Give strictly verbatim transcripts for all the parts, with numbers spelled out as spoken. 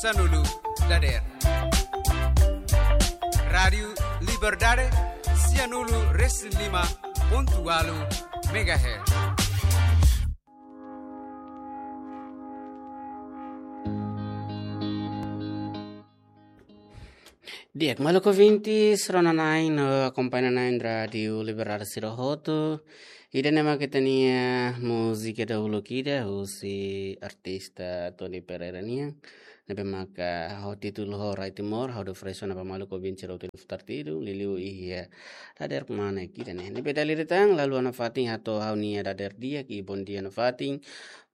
Sanulu dadeer. Rádiu Liberdade, sianulu resin lima pontu ualu megahertz. Di'ak, maluk ouvintes, rona na'in no akompaña na'in Rádiu Liberdade sira hotu. Ida-ne'e mak ita-nia múzika dahuluk ida husi artista Tony Pereira nian. Ne'ebé maka ho títulu Ho Rai Timor, ha'u oferese ona ba maluk ouvinte sira hotu iha futar tidu, liuliu iha dadeer mane ida-ne'e. Ne'ebé dala ida tan, la haluha nafatin hato'o ha'u-nia dadeer di'ak, i bondia nafatin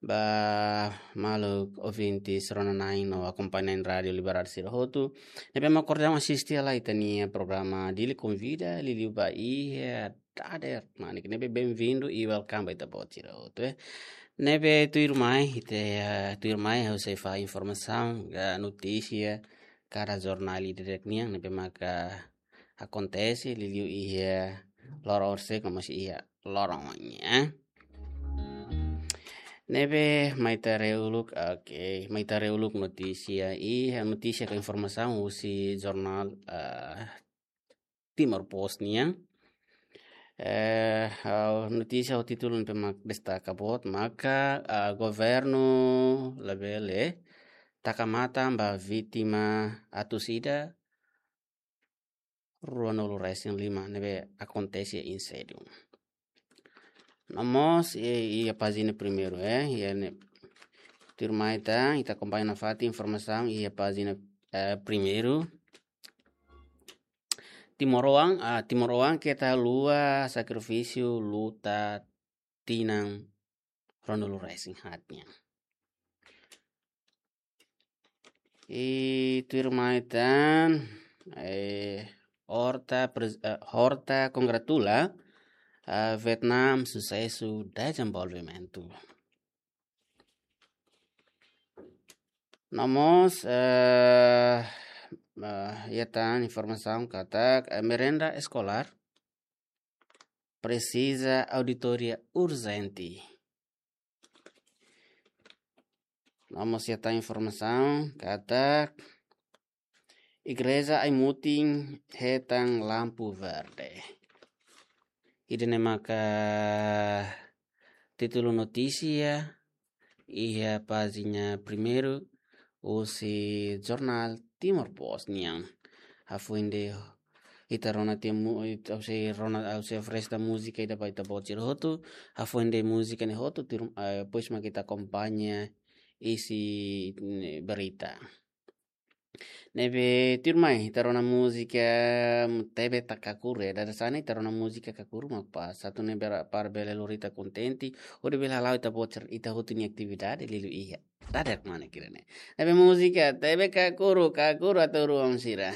ba maluk ouvintes rona na'in no akompaña na'in Rádiu Liberdade sira hotu. Ne'ebé mak ohin daudaun asiste hela ita-nia programa Dili Konvida, liuliu ba iha dadeer mane ida-ne'e. Ne'ebé bem-vindo i welcome ba ita-boot sira hotu, eh. Ne'ebé tuirmai, ita, eh, tuirmai ha'u sei fahe informasaun ka notísia kada jornál ida-idak nian ne'ebé maka akontese liuliu iha loron horisehik no mós iha loron oin, eh. Ne'ebé mai ita haree uluk, oke, mai ita haree uluk notísia, iha notísia ka informasaun husi jornál, eh, Timor Post nian. Eh, ha'u notísia ho títulu ne'ebé mak destaka boot maka, eh, governu labele taka matan ba vítima atus ida ruanulu resin lima ne'ebé akontese inséndiu. No mós, eh, iha pájina primeiru, eh, iha ne'e. Tuirmai tan, ita akompaña nafatin informasaun iha pájina, eh, primeiru. Timoroan, ah, timoroan keta haluha sakrifísiu luta tinan ruanulu resin haat nian. I tuirmai tan, eh, Horta pres-, eh, Horta kongratula, eh, Vietnam susesu dezenvolvimentu. No mós, eh, eh, iha tan informasaun katak, eh, merenda eskolár presiza auditoria urjente. No mós iha tan informasaun katak igreja ai-mutin hetan lampu verde. Ida-ne'e maka títulu notísia iha pájina primeiru husi jornál Timor Post nian. Hafoin ne'e ita rona tiha mu-, ita, ha'u sei rona, ha'u sei oferese múzika ida ba ita-boot sira hotu. Hafoin ne'e múzika ne'e hotu, tuir-, eh, depois mak ita akompaña isi, eh, berita. Ne'ebé tuirmai, ita rona múzika, mm, Tebe Takakuru, eh, dada hanesan ne'e ita rona múzika Kakuru mak pas. Atu nune'e bera-, para bele lori ita kontente, hodi bele hala'o ita-boot sira, ita hotu nia atividade, liuliu iha dadeer mane ida-ne'e. Ne'ebé múzika, Tebe Kakuru, Kakuru atu ruang sira.